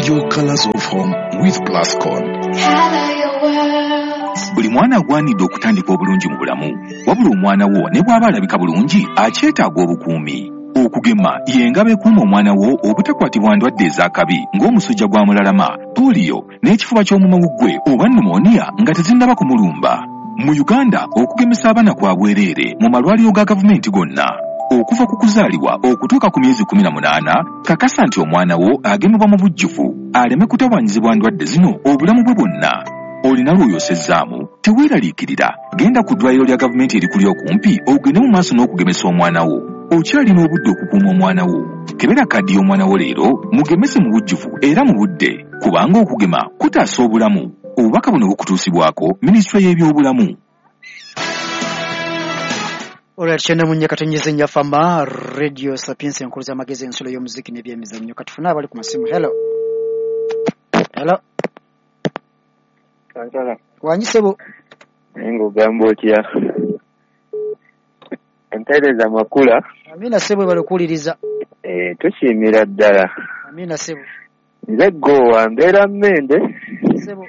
Your colors of home with Plascon. Buli mwana agwanidde okutandika obulungi mu bulamu, wabula omwana wo ne bw'aba alabika bulungi akyetaaga obukuumi. Okugema y'engabo ekuuma omwana wo obutakwatibwa ndwadde ez'akabi ng'omusujja gwa mulalama, pooliyo n'ekifuba ky'omumawuggwe oba pneumonia nga tezinnaba kumulumba. Mu Uganda okugemesa abaana kwa bwereere mu malwaliro ga gavumenti gonna. Okuva ku kuzaalibwa okutuuka ku myezi 18, kakasa nti omwana wo agemebwa mu bujjuvu aleme kutawaanyizibwa ndwadde zino obulamu bwe bwonna. Olina lw'oyosezzaamu, teweeraliikirira, genda ku ddwaliro lya gavumenti erikuli okumpi ogende mu maaso n'okugemesa omwana wo. Okyalina obudde okukuuma omwana wo. Kebera kaddi y'omwana wo leero, mugemese mu bujjuvu era mu budde, kubanga okugema kutaasa obulamu. Obubaka buno bukutuusibwako Minisitule y'Ebyobulamu. Olwa 94.4 Fama Radio Sapiens, enkulu z'amagezi, ensulo y'omuziki n'ebyemizannyo. Katufune abali ku masimu. Hello. Hello. Kansala. Wangi ssebo. Naye ng'ogamba otya? Empeereza makula. Amina ssebo, webale okuwuliriza. Tusiimira ddala. Amina ssebo. Nze Gowa, mbeera Mmende. Ssebo.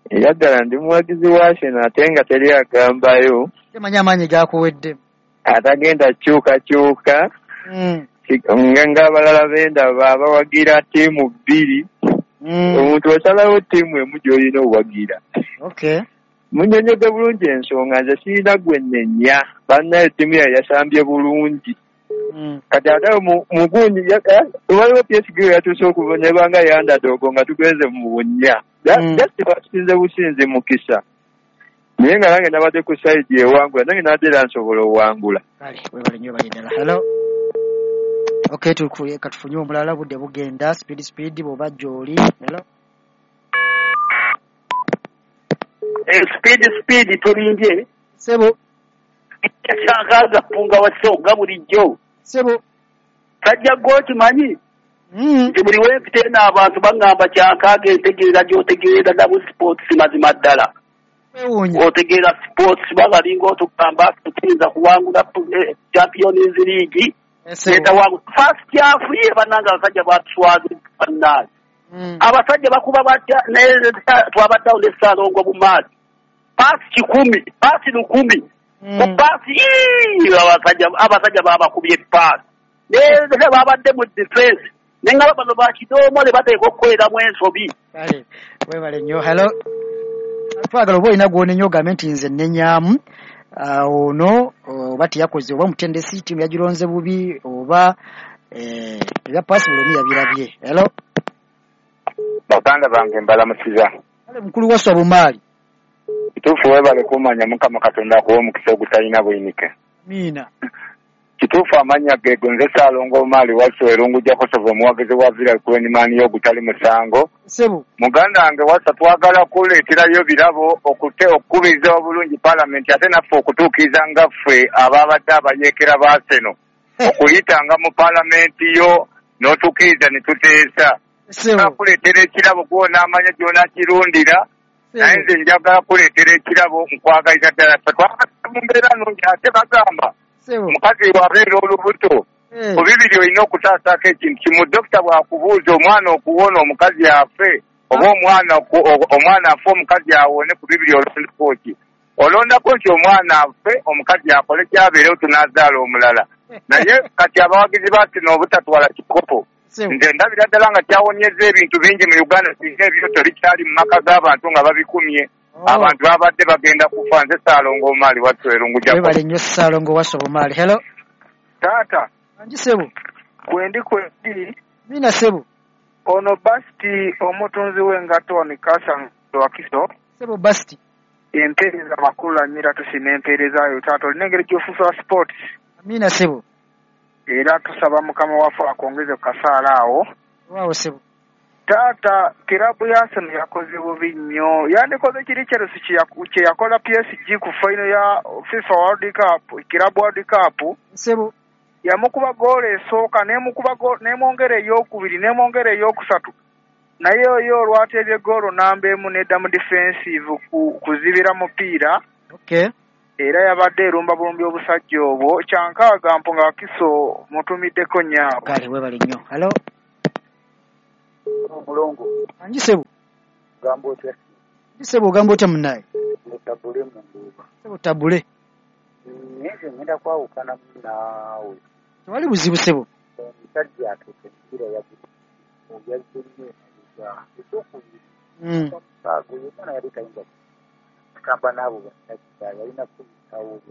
Era ddala ndi muwagizi wa Arsenal ate nga teri agambayo. Temanyi amaanyi gakuwedde. Atagenda kyukakyuka. Ng'abalala bendaba abawagira ttiimu bbiri. Omuntu osalawo ttiimu emu gy'olina owagira. Okay. Munnyonnyodde bulungi ensonga, nze sirina gwe nnenya. Bannaye ttiimu yaye yasambye bulungi. Kati ate mugundi waliwo PSG yatuuse okubonebwa nga underdog nga tugenze mu bunnya. Just batusinze businzi mukisa. Naye nga nange nabadde ku side ewangula, nange nabadde era nsobola owangula. Kale, webale nnyo, webale ddala. Hello. Okay, katufunye omulala, budde bugenda speed speed bw'oba gy'oli. Hello. Speed speed tulimbye. Ssebo. Kyankaaga mpunga wa ssonga bulijjo. Ssebo. Sajja gwe okimanyi? Nti buli wempita eno abantu baŋŋamba kyankaaga entegeera gy'otegeera nabu sports mazima ddala. Otegeera sports babalinga otugamba tuyinza kuwangula Champions League. First half ye bannange abasajja batuswaza bannange. Abasajja bakuba batya twabaddeawo ne Ssaalongo Bumaali. Paasi 1,000, paasi 1,000. Ku paasi abasajja babakubye paasi. Ne babadde mu defense. Ne nga bano bakidoomole bateeka okukoleramu ensobi. Kale, webale nnyo. Hello. Twagala oba olina gw'onenya ogambe nti nze nnenyamu. Ono oba teyakoze oba omutendesi ttiimu yagironze bubi oba ebya paasi buli omu yabirabye. Hello. Baganda bange mbalamusiza. Kale mukulu wa Bumaali. Kituufu webale kumanya Mukama Katonda akuwa omukisa ogutalina buyinike. Amiina. Kituufu amannya geego nze Ssaalongo Bumaali Wasswa Erungu Jakosovo omuwagizi wa Villa Kwenimani y'ogutali musango. Ssebo. Muganda wange Wasswa twagala kuleeterayo birabo okukubiriza obulungi paalamenti ate naffe okutuukiriza nga ffe ababadde abayeekera ba Arsenal. Okuyitanga mu paalamenti yo n'otukkiriza ne tuteesa. Kuleetera ekirabo gw'onaamanya gy'onaakirundira. Naye nze njagala kuleetera ekirabo nkwagaliza ddala. Ffe twagala mu mbeera nnungi ate bagamba omukazi bw'abeera olubuto ku bibiri olina okutaasaako ekintu kimu. Dokita bw'akubuuza omwana okuwona omukazi afe oba omwana afe omukazi awone, ku bibiri olondako ki? Olondako nti omwana afe omukazi akole kyabeerewo tunaazaala omulala. Naye kati abawagizi ba Arsenal obutatwala kikopo nze ndabira ddala nga kyawonyeza ebintu bingi mu Uganda singa ebyoto bikyali mu maka g'abantu nga babikumye. Abantu babadde bagenda kufa. Nze Ssaalongo Bumaali Wasswa Erungu Jakob. Webale nnyo Ssaalongo Wasswa Bumaali. Hello. Taata. Angi ssebo. Kwendi kwendi. Mina ssebo. Ono Basti omutunzi w'engatto wano e Kasanga Wakiso. Ssebo Basti. Empeereza makulu amira tusima empeereza yo taata, olina engeri gy'ofuusa sports. Amina ssebo. Era tusaba Mukama waffe akwongeze ku kasaala awo. Waawo ssebo. Taata, kirabu ya Arsenal yakoze bubi nnyo. Yandikoze kiri Chelsea kye yakola PSG ku final ya FIFA World Cup, Kirabu World Cup. Ssebo. Yamukuba goolo esooka n'emukuba n'emwongera ey'okubiri n'emwongera ey'okusatu. Naye oyo olwateebye goolo namba emu n'edda mu defensive kuzibira mupiira. Okay. Era yabadde erumba bulumbi obusajja obwo. Kyankaaga mpunga Wakiso mutumiddeko nnyo. Kale webale nnyo. Hello. Omulongo. Angi sebo. Gamba otya? Sebo ogamba otya munnaye? Tabule mu nduuba. Sebo tabule. Nze ngenda kwawukana naawe. Tewali buzibu sebo. Omusajja atuuka emipiira yazze nnyo emabega. Ekyokubiri. Omusaago ye omwana yali tayinza kutamba n'abo bannakita yalina kuyitawo.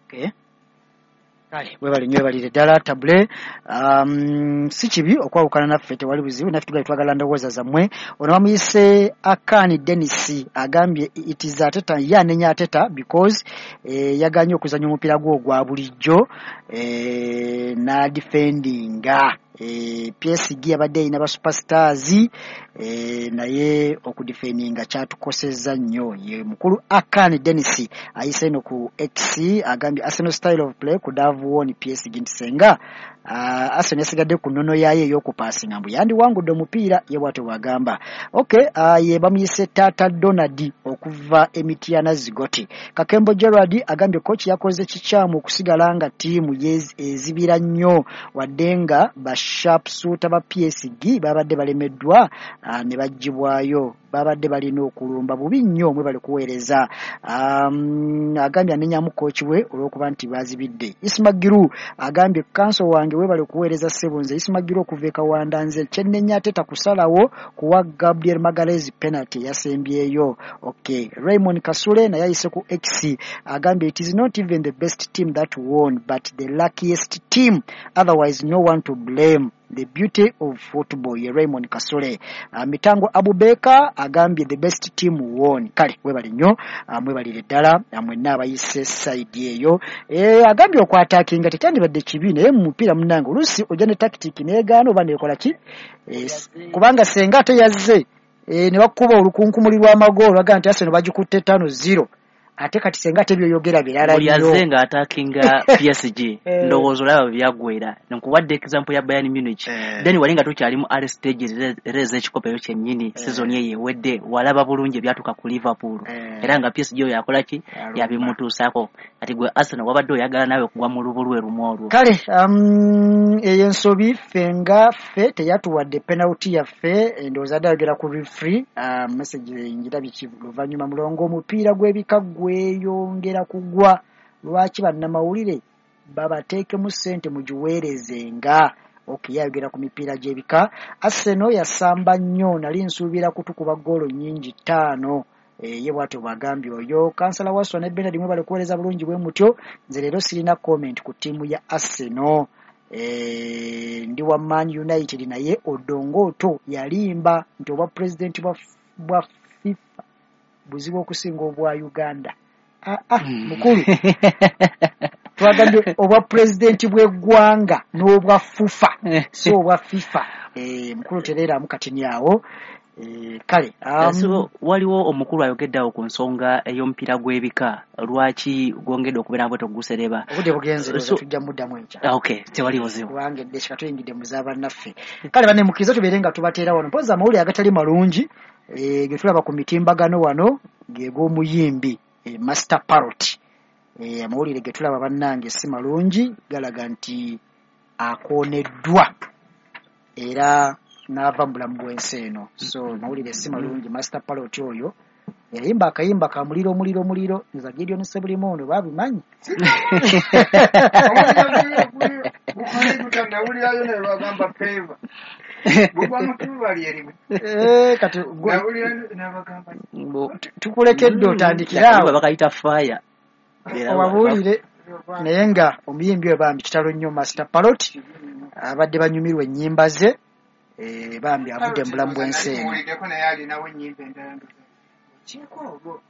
Okay. Kale webale nnyo webalire ddala tabule. Si kibi okwawukana naffe, tewali buzibu, naffe tugali twagala ndowooza zammwe. Ono bamuyise Akani Dennis agambye it is Arteta, ye anenya Arteta because yaganye okuzannya omupiira gwe ogwa bulijjo n'adefendinga. PSG yabadde erina ba superstars naye okudefendinga kyatukosezza nnyo. Ye mukulu Akani Dennis ayise eno ku X agambye Arsenal style of play could have won PSG nti senga Arsenal yasigadde ku nnono yaayo ey'okupaasinga mbu yandiwangudde omupiira, ye bw'atyo bw'agamba. Okay, ye bamuyise Taata Donald okuva Emitiana Zigoti. Kakembo Gerard agambye coach yakoze kikyamu okusigala nga ttiimu ezibira nnyo wadde nga ba sharpshooter ba PSG babadde balemeddwa ne baggyibwayo, babadde balina okulumba bubi nnyo, mwe bali kuweereza. Agambye anenyamu coach we olw'okuba nti bazibidde. Isma Giru agambye kanso wange webale kuweereza ssebo, nze Isma Giru okuva e Kawanda, nze kyennenya Arteta kusalawo kuwa Gabriel Magalhaes penalty yasembyeyo. Okay, Raymond Kasule naye ayise ku X agambye it is not even the best team that won but the luckiest team, otherwise no one to blame, the beauty of football. Ye Raymond Kasule. Mitango Abubeka agambye the best team won. Kale webale nnyo, mwebalire ddala mwenna abayise side eyo. Agambye okwatakinga tekyandibadde kibi, naye mu mupiira munnange oluusi ojja ne tactic neegaana oba neekola ki, kubanga senga ate yazze ne bakuba olukunkumuli lw'amagoolo bagamba nti Arsenal bagikutte 5-0, ate kati senga ate byoyogera birala buli nnyo. Azze nga attackinga PSG, ndowooza olaba byaggwera. Nkuwadde example ya Bayern Munich, then wali nga tukyali mu early stages era ez'ekikopo ekyo kyennyini, season eyo ewedde walaba bulungi ebyatuuka ku Liverpool, era nga PSG oyo yakola ki, yabimutuusaako. Kati gwe Arsenal wabadde oyagala naawe kugwa mu lubu lwe lumu olwo. Kale eyo ensobi ffe nga ffe teyatuwadde penalty yaffe, ndowooza adde ayogera ku referee. Message ngirabye luvannyuma. Mulongo, omupiira gw'ebika gweyongera kugwa, lwaki bannamawulire babateekemu ssente mugiweerezenga? Okay, yayogera ku mipiira gy'ebika. Arsenal yasamba nnyo, nali nsuubira kutukuba ggoolo nnyingi 5. Ye bw'atyo bw'agambye oyo. Kansala Waswa ne Bernard mwebale kuweereza bulungi bwe mutyo, nze leero sirina comment ku ttiimu ya Arsenal. Ndi wa Man United, naye Odongoto yalimba nti obwa pulezidenti bwa FIFA buzibu okusinga obwa Uganda. Mukulu twagambye obwa pulezidenti bw'eggwanga n'obwa FUFA, so obwa FIFA. Mukulu tereeramu katini awo. Kale So waliwo omukulu ayogedde awo ku nsonga ey'omupiira gw'ebika, lwaki gwongedde okubeera bwe togusereba. Obudde bugenze, tujja muddamu enkya. Okay, tewali buzibu. Kubanga edde tuyingidde mu z'abannaffe. Kale banne mukkirize tubeere nga tubateera wano mpozi amawulire agatali malungi ge tulaba ku mitimbagano wano ge g'omuyimbi Master Parrot. Amawulire ge tulaba bannange si malungi, galaga nti akooneddwa era n'ava mu bulamu bw'ensi eno. So mawulire si malungi. Master Parrot oyo yayimba akayimba ka muliro muliro muliro, nza Gideon Sebulimo ono babimanyi. Nawulirayo ne bagamba favor. Bugwa mutuba lyerimu. Kati nawulira n'abagamba tukulekedde otandikira awo. Bakayita fire. Obabuulire naye nga omuyimbi oyo bambi kitalo nnyo Master Parrot, abadde banyumirwa ennyimba ze, bambi avudde mu bulamu bw'ensi eno. Muwuliddeko naye alinawo ennyimba endala.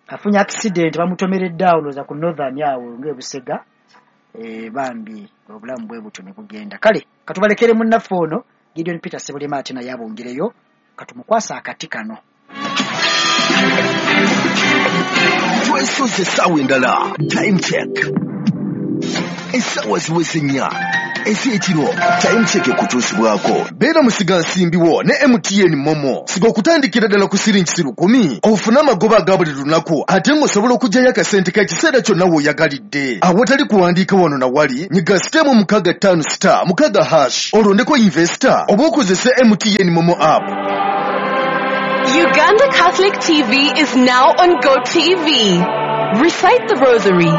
Afunye accident bamutomeredde awo ndowooza ku Northern awo ng'e Busega. Bambi obulamu bwe butyo ne bugenda. Kale katubalekere munnaffe ono Gideon Peter Sebulima ate naye abongereyo, katumukwasa akati kano. Twesoze essaawa endala. Time check, essaawa ziweze 4. Ez'ekiro Time Check ekutuusibwako. Beera musigansimbi wo ne MTN Momo. Siga okutandikira ddala ku siringi 10,000 ofune amagoba aga buli lunaku ate ng'osobola okuggyayo akasente k'ekiseera kyonna w'oyagalidde. Awatali kuwandiika wano na wali, nyiga *656 *6# olondeko investor oba okozese MTN Momo app. Uganda Catholic TV is now on GoTV. Recite the Rosary,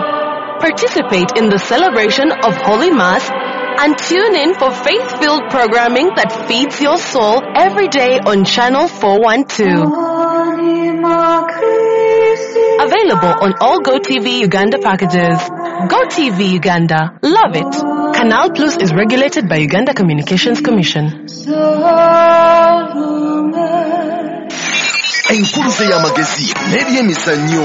participate in the celebration of Holy Mass, and tune in for faith-filled programming that feeds your soul every day on Channel 412. Available on all GoTV Uganda packages. GoTV Uganda. Love it. Canal Plus is regulated by Uganda Communications Commission. Enkuluze y'amagezi n'ebyemizannyo.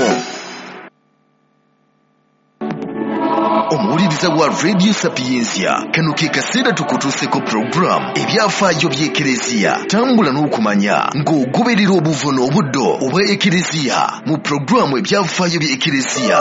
Omuwuliriza wa Radio Sapientia, kano ke kaseera tukutuuseko program ebyafaayo by'Ekereziya. Tambula n'okumanya ng'ogoberera obuvo n'obuddo obwa Ekereziya mu programu ebyafaayo by'Ekereziya.